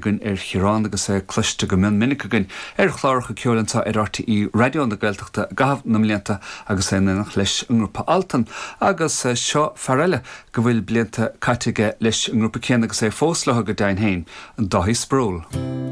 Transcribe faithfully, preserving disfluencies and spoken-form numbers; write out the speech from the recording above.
Againn ar Chiarán agus é cloiste go mion minic againn ar chláracha ceoil anseo ar R T É Raidió na Gaeltachta i gcaitheamh na mblianta agus é in éineacht leis an ngrúpa Altan. Agus seo fear eile go bhfuil blianta caite aige leis an ngrúpa céanna agus é fós leo go deimhin féin, an Dáithí Sproule.